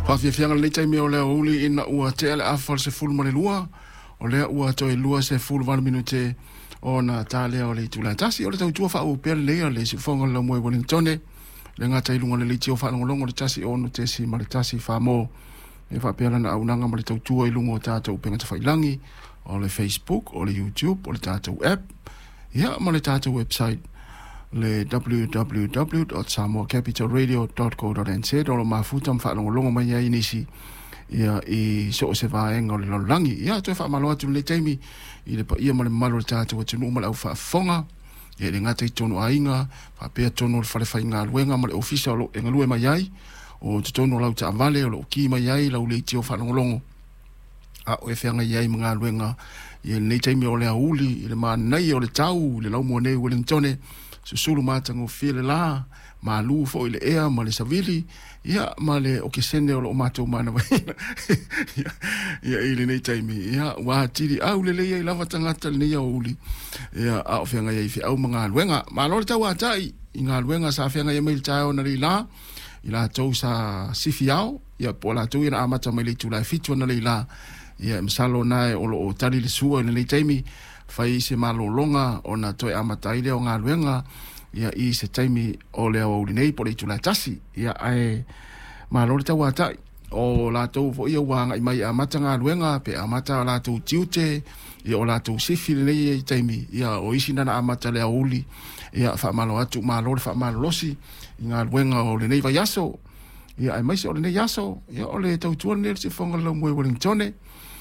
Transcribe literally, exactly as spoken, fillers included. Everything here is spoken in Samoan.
Faafiafiaga lenei taimi o le aoauli ina ua tea le afa o le sefulu ma le lua, o lea ua toe lua sefulu valu minute ona talea o le itula e tasi. O le tautua faauu pea lenei a le siufofoga o le laumua i Ueligitone, le gata i luga o le leitio faalogologo le tasi ono tesi ma le tasi famo e faapea lana auaunaga ma le tautua i luga o tatou upega tafailagi, o le Facebook, o le YouTube, o le tatou app, ia ma le tatou website le w w w dot samoa capital radio dot co dot n z, o lo o mafuta ma faalogologo mai ai nisi ia i so o se vaega o le lalolagi. Ia toe faamalo atu lenei taimi i le paia ma le mamalu o le tatou atunuu ma le aufaafofoga, ia e le gata i totonu o aiga, faapea totonu o le fale faigaluega ma le ofisa o lo o e galue mai ai, o totonu o lau taavale o lo o ki mai ai lau leitio faalogologo a o e feagai ai ma galuega ia lenei taimi o le aoauli i le manaia o le tau i le laumua nei i Ueligitone, susulu matagofie le la, malu foi le ea ma le savili, ia ma le okesene o lo o matou manavaina ia i lenei taimi. Ia ua atili aulelei ai lava tagata lenei aoauli, ia a o feagai ai feau ma galuega. Malo le tauatai i galuega sa feagai ai mai le taeao analeila, i latou sa sifi ao, ia po o latou ia na amata mai le itula e fitu analeila. Ia masalo na o lo o tali le sua i lenei taimi, fai se malologa ona toe amata ai lea o galuega ia i se taimi o le aoauli nei po o le itula e tasi. Ia ae malo le tauatai o latou foi ia ua agai mai e amata galuega pe amata latou tiute, ia o latou sifi lenei taimi, ia o isi na na amata le aoauli. Ia faamalo atu, malo le faamalolosi i galuega o lenei vaiaso, ia aemaise o lenei aso, ia o le tautua lenei o le siufofoga o le laumua i Ueligitone.